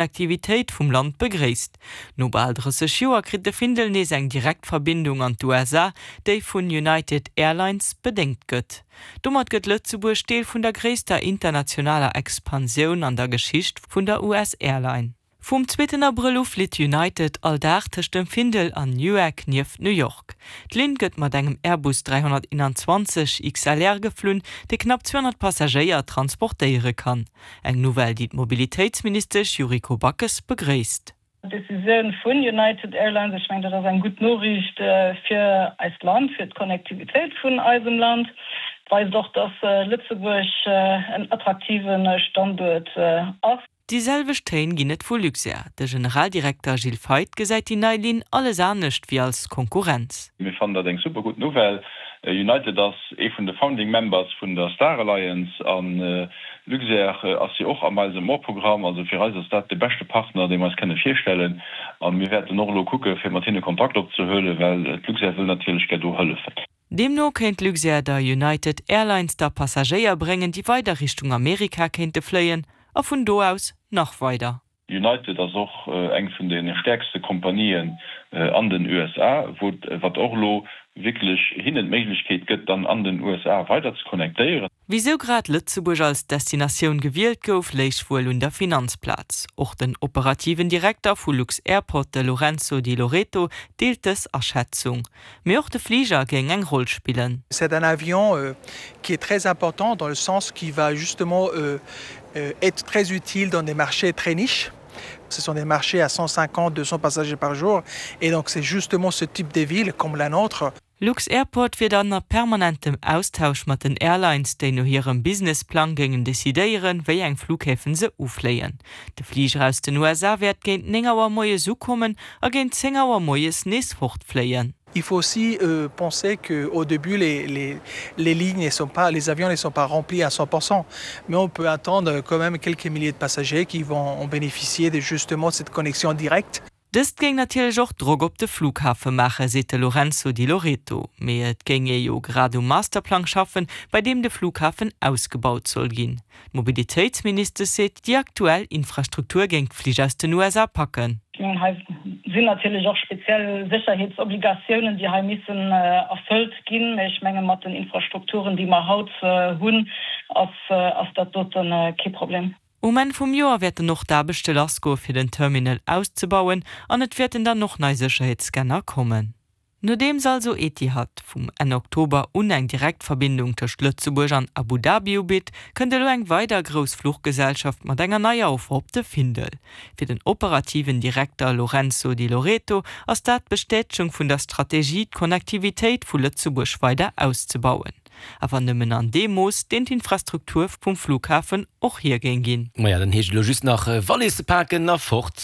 Aktivitéit vum Land begréisst. No bal 30 Joer kritt de Findel nees eng direkt Verbindung an d'USA, déi vun United Airlines bedéngt gëtt. Domat gëtt Lëtzebuerg Deel vun der gréisster internationaler Expansioun an der Geschicht vun der US-Airline. Vum zweeten Abrëll u flitt United all Dag tëscht dem Findel an Newark nieft New York. D'Linn gëtt mat engem Airbus 321 XLR geflunn, dee knapp 200 Passagéier transportéiere kann. Eng Nouvelle, déi d'Mobilitéitsministesch Yuriko Backes begréisst. D'Decisioun vun United Airlines, ech mengen, dat ass eng gutt Noriicht fir eist Land, fir d'Connectivitéit vun eisem Land. Et weist och, dass Lëtzebuerg en attraktive Standuert ass. Déi selwecht Téin ginn et vu Luxair. De Generaldirekter Gilles Feith gesäit déi nei Linn alles anescht wéi als Konkurrenz. Mir fannen dat eng super gutt Nouvelle. United ass ee vun de Founding Members vun der Star Alliance a Luxair ass jo och am Miles and More Programm. Also fir eis ass dat de beschte Partner, dee mer eis kënne virstellen. A mir wäerten och elo kucke fir mat hinne Kontakt opzehuelen, well d'Luxair wëll natierlech gär do hëllefen. Deemno kéint Luxair der United Airlines da Passagéier bréngen, déi weider Richtung Amerika kéinte fléien a vun do aus nach weider. United ass och eng vun de stäerkste Kompanien an den USA, wou wat och elo wierklech hinnen d'Méiglechkeet gëtt, dann an den USA weider ze connectéieren. Wisou grad Lëtzebuerg als Destinatioun gewielt gouf, léich wuel un der Finanzplaz. Och den operativen Direkter vu lux-Airport, de Lorenzo Di Loreto, deelt dës Aschätzung. Mee och de Fliger géing eng Roll spillen. C'est un avion qui est très important dans le sens qui va justement être très utile dans des marchés très niches. Ce sont des marchés à 150, 200 passagers par jour et donc c'est justement ce type de ville comme la nôtre. Lux-Airport wier dann a permanentem Austausch mat den Airlines, déi no hirem Businessplang géingen decidéieren, wéi eng Flughäfen se ufléien. De Fliger aus den USA wäert géint 9 Auer moies ukommen a géint 10 Auer moies nees fortfléien. Il faut aussi euh, penser qu'au début les, les, les lignes ne sont pas les avions ne sont pas remplis à 100%, mais on peut attendre quand même quelques milliers de passagers qui vont en bénéficier de justement cette connexion directe. Dëst géing natierlech och Drock op de Flughafe maachen, seet de Lorenzo Di Loreto. Mee et géing ee jo grad um Masterplang schaffen, bei deem de Flughafen ausgebaut soll ginn. D'Mobilitéitsministesch seet, déi aktuell Infrastruktur géing d'Flich aus den USA packen. Ech mengen, hei sinn natierlech och speziell Sécherheetsobligatiounen, déi hei missen erfëllt ginn. Mä ech menge mat den Infrastrukturen, déi mer haut hunn, ass dat dote kee Problem. Um Enn vum Joer wäerten och d'Aarbechte lassgoe fir den Terminal auszebauen an et wäerten dann och nei Sécherheetsscanner kommen. Nodeems also Etihad vum Enn Oktober un eng Direktverbindung tëscht Lëtzebuerg an Abu Dhabi ubitt, kënnt elo eng weider grouss Fluchgesellschaft mat enger neier Offer op de Findel. Fir den operativen Direkter Lorenzo Di Loreto ass dat d'Bestätegung vun der Strategie, d'Connectivitéit vu Lëtzebuerg weider auszebauen. Awer nëmmen an deem Mooss, deen d'Infrastruktur vum Flughafen och hir géing ginn. Maja, dann heescht et elo just nach Walisse paken a fort.